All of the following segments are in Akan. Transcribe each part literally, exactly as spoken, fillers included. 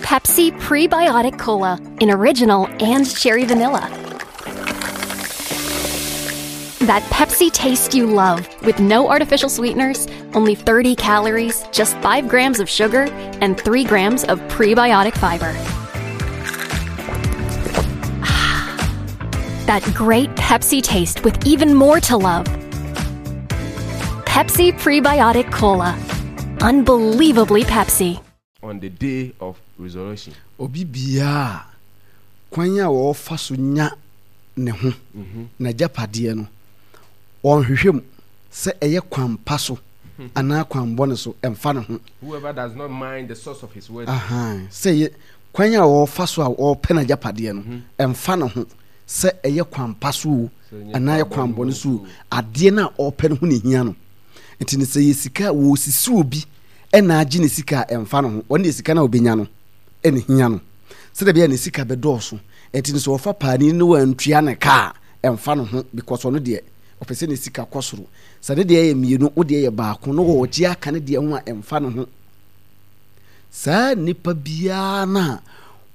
Pepsi Prebiotic Cola in original and cherry vanilla. That Pepsi taste you love with no artificial sweeteners, only thirty calories, just five grams of sugar, and three grams of prebiotic fiber. That great Pepsi taste with even more to love. Pepsi Prebiotic Cola. Unbelievably Pepsi. On the day of resurrection. Obi biara kwan a wɔfa so nya ne ho n'agyapadeɛ no, ɔnhwehwɛ mu sɛ ɛyɛ kwan pa so anaa kwan bɔne so, ɛmfa ne ho. Whoever does not mind the source of his wealth. Ahan, sɛ ɛyɛ kwan a wɔfa so a wɔpɛ n'agyapadeɛ no, ɛmfa ne ho sɛ ɛyɛ kwan pa so o anaa ɛyɛ kwan bɔne so o, adeɛ no a ɔpɛ no ho ne hia no. Nti no sɛ yɛ sika a wɔsisi obi ɛna agye ne sika a, ɛmfa ne ho. Ɔno deɛ sika no a ɔbɛnya no ɛna hia no, sɛdeɛ ɛbɛyɛ ne sika bɛdɔɔso. Nti no sɛ ɔfa paani no wantua ne ka a, ɛmfa ne ho, because ɔno deɛ ɔpɛ sɛ ne sika kɔ soro. Sɛ ne deɛ yɛ mmienu, wo deɛ yɛ baako na ɔgye aka ne deɛ ho a, ɛmfa ne ho. Saa nipa biara no a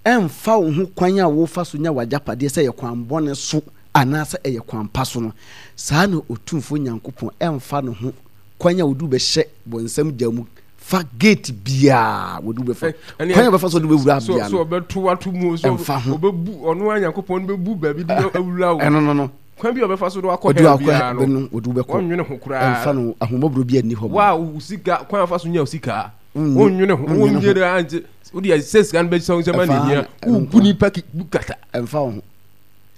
ɛmfa wo ho kwan a wofa so nya w'agyapadeɛ, sɛ ɛyɛ kwan bɔne so anaasɛ ɛyɛ kwan pa so no, saa na Otumfoɔ Nyankopɔn ɛmfa ne ho kwan a wode wobɛhyɛ bɔnsam gya mu fa gate biara wɔde wobɛfa, kwan a wɔbɛfa so de wobɛwura biara no, ɔbɛto ato mu so, ɛmfa ho. Ɔbɛbu ɔno a Nyankopɔn no bɛbu baabi de awura wo. Ɛno no no kwan bi a ɔbɛfa so de wakɔ wɔde hell wakɔ biara no no, wɔde wobɛkɔ. Wɔnwene ho koraa. Ɛmfa no, ahummɔborɔ bi anni hɔ ma. Wa wo sika, kwan a ɔfa so nya wo sika, Wonnye- wonnwene ho. Wonnwene ho. Wonnye de angye wode sɛ sika no bɛhyɛ wo nsɛm a ne Ɛmfa hia ɛno wobu nko. nipa ki- bu kata. Ɛmfa wo ho.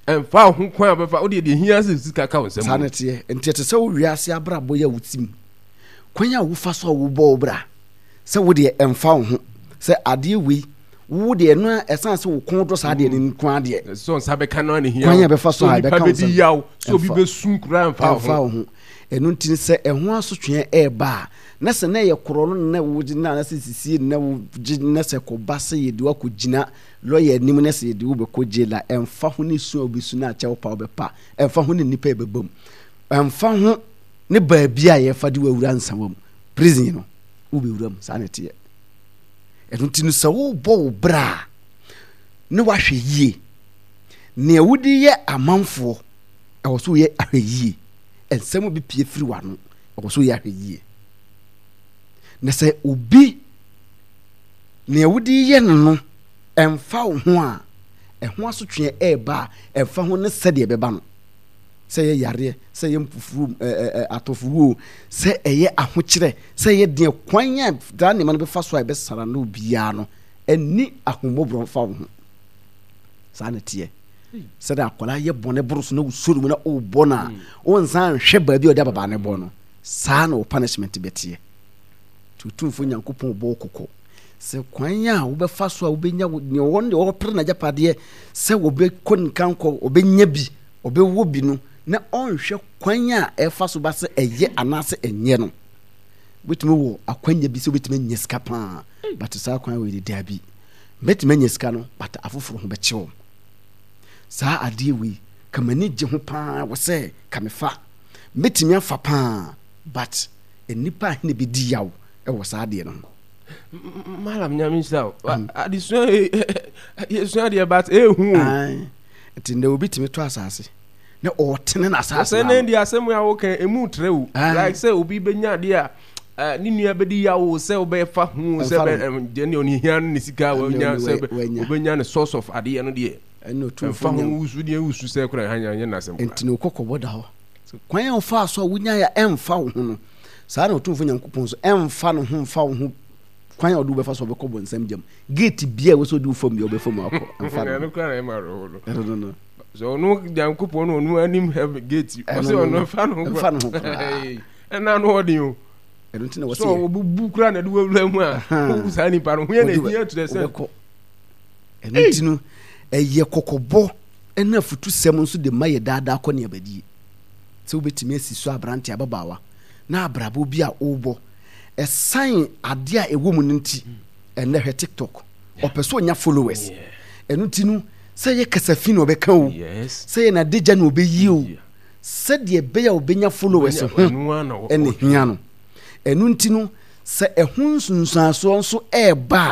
Ɛmfa wo ho kwan a ɔbɛfa wode deɛ hia sɛ sika ka wo nsɛm. Saa na teɛ. Nti ɛte sɛ wo wiase abrabɔ yi a wotim, kwan a wofa so a wobɔ wo bra, sɛ wo deɛ ɛmfa wo ho sɛ adeɛ wei wo deɛ ɛno a ɛsan sɛ wo kɔn dɔ saa deɛ no nko adeɛ. Sɛ nsa bɛka no a ne hia Kwan a ɛbɛfa so a sɛ ɛbɛka onipa wo bɛdi nsɛm. yaw sɛ obi Ɛmfa- bɛsu koraa, ɛmfa wo ɛmfa ho. wo ho. Ɛno nti sɛ ɛho asotweɛ ɛɛba a, na sɛ na ɛyɛ korɔ no na wogye na sɛ sisie na wogye na sɛ kɔba sɛ yɛde wakɔgyina lɔya anim na sɛ yɛde wobɛkɔ jail a, ɛmfa ho ne su a wobɛsu no akyɛ wo pa wobɛpa, ɛmfa ho ne nnipa a ɛbɛba mu, ɛmfa ho ne baabi a yɛfa de wawura nsawa mu, prison no wobɛwura mu. Saa na ɛteɛ. Ɛno nti no sɛ wobɔ wo bra a, ne wahwɛ yie nea wode yɛ amanfoɔ, ɛwɔ so woyɛ ahwɛ yie. Nsɛm bi pie firi w'ano, ɛwɔ so woyɛ ahwɛ yie. Na sɛ obi nea wode yɛ no no ɛmfa wo ho a, ɛho asotweɛ ɛɛba a, ɛmfa ho ne sɛdeɛ ɛbɛba no, sɛ ɛyɛ yareɛ, sɛ ɛyɛ mfufuro, ɛɛ atɔfowuo, sɛ ɛyɛ ahokyerɛ, sɛ ɛyɛ deɛ kwan a saa nneɛma no bɛfa so a ɛbɛsara no biara no, ɛni ahommɔborɔ mfa wo ho. Saa na teɛ. Sɛdeɛ akwadaa yɛ bɔne boro so na wosɔre mu na wobɔ no a, wonsan nhwɛ baabi a ɔde ababaa no bɔ no, saa na wo punishment bɛteɛ. Nti Otumfoɔ Nyankopɔn bɔ wo kɔkɔ sɛ kwan a wobɛfa so a wobɛnya nea ɔwɔ no deɛ ɔpere n'agyapadeɛ sɛ wɔbɛkɔ nkankɔ, ɔbɛnya bi, ɔbɛwɔ bi no, na ɔnhwɛ kwan a ɛfa so ba sɛ ɛyɛ anaasɛ ɛnyɛ no. Wobɛtumi wɔ akwanya bi sɛ wobɛtumi anya sika paa, but saa kwan wei de, daabi, mɛtumi anya sika no, but afoforɔ ho bɛkye wɔn. Saa adeɛ wei ka m'ani gye ho paa wɔ sɛ ka mefa, mɛtumi afa paa, but nnipa a hene bɛdi yaw wɔ saa adeɛ no ho. Malam, Nyame nhyira wo. Adesua yɛsua deɛ, but ɛhu o. Nti ndɛ obi tumi tɔ asase na ɔtene n'asase. Sɛ ne deɛ asɛm a woka ɛmu trɛ o, like sɛ obi bɛnya adeɛ a ne nua bɛdi yaw o, sɛ wobɛfa ho sɛ deɛ ne ɔne hia no ne sika wanya, sɛ wobɛnya ne source of adeɛ no deɛ, ɛmfa ho wusu deɛ wusu sɛ kora nyɛ n'asɛm. Nti ne wokɔkɔbɔ da hɔ kwan a wofaa so a wonyaeɛ a ɛmfa wo ho no, saa na Ɔtumfoɔ Nyankopɔn so ɛmfa ne ho mfa wo ho kwan a ɔde wobɛfa so ɔbɛkɔ bɔnsam gyam, gate bia ɛwɔ sɛ ɔde wo fam bia ɔbɛfa mu akɔ, ɛmfa no ho. No no sɛ ɔno Nyankopɔn no ɔno anim heaven gate, ɔsɛ ɔno ɛmfa ne ho. Ɛmfa ne ho koraa. Ɛna no ɔden o. Ɛno nti na wɔsɛ sɛ ɔbubu koraa na ɛde wawura mu a, wowu saa nipa no ho yɛ na ɛhia kyerɛ sɛ wobɛkɔ. Ɛno nti no ɛyɛ kɔkɔbɔ ɛne afutusɛm nso de ma yɛ daadaa kɔ ne abadie sɛ wobɛtumi asi so aberante, ababaawa na abrabɔ bi a wobɔ, ɛsan adeɛ a ɛwɔ mu no nti ɛnɛ hwɛ TikTok, ɔpɛ sɛ ɔnya followers. Ɛno nti no sɛ yɛ kasafi na ɔbɛka o, sɛ yɛ n'adagya na ɔbɛyi o, sɛdeɛ ɛbɛyɛ a ɔbɛnya followers ho ɛne hia no. Ɛno nti no sɛ ɛho nsunsuansoɔ nso ɛɛba a